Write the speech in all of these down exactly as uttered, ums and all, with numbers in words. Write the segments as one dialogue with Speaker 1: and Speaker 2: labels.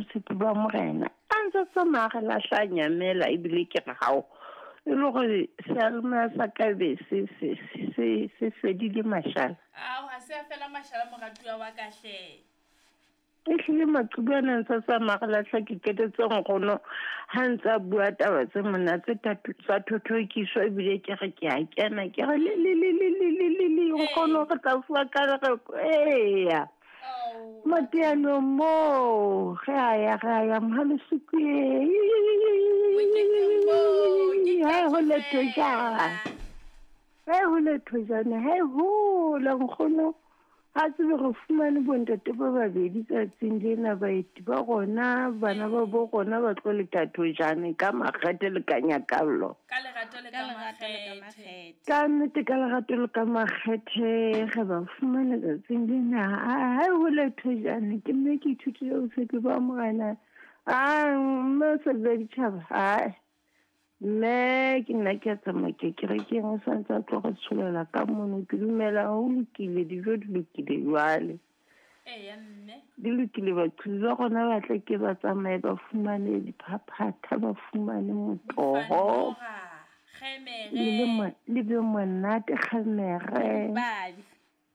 Speaker 1: botshepi ba Morena. A ntse tsamaya re lahla nyamela ebile ke re hao. E le hore seyalemoya sa ka be se se se se fedile mashala.
Speaker 2: Ao, ha se a fela mashala moratuwa wa ka hle.
Speaker 1: Ehlile maqhubu ana ntse tsamaya re lahla ke qetetse nkgono ha ntse a bua taba tse monate tsa thothokiso ebile ke re ke a kena ke re le le le le le le le le nkgono re tla fuwa ka re eya. Mateanong moo ge a ya ge a ya mohalesukwe ha ho le thojana ha ho le thojana ha hola nkgono ha tsebe re fumane bontate ba babedi tsatsing lena baeti ba rona bana ba bo rona ba tlo leta thojane ka makgethe le ka nyakallo
Speaker 2: ka lerato le ka makgethe
Speaker 1: ka nnete ka lerato le ka makgethe ge ba fumane tsatsing lena ha ho le thojane ke mme ke ithutile botshepi ba Morena a mme o sa bua ditjhaba ai mme ke nna ke a tsamaya ke kerekeng o santse a tlo re tsholela ka mono ke dumela ho lokile dijo di lokile jwale
Speaker 2: eya mme
Speaker 1: di lokile baqhubi ba rona ba tle ke ba tsamaye ba fumane diphaphatha ba fumane motoho le be monate kgemere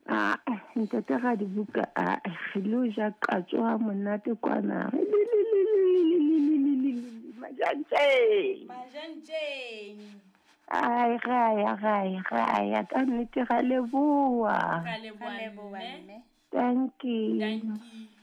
Speaker 1: a ntate ga dibuka a re lo ja qatso ha monate kwana majantjeng
Speaker 2: majantjeng
Speaker 1: ai ga ya ga ya ga ya ka nnete ga leboa
Speaker 2: ga leboa mme
Speaker 1: thank you
Speaker 2: thank you.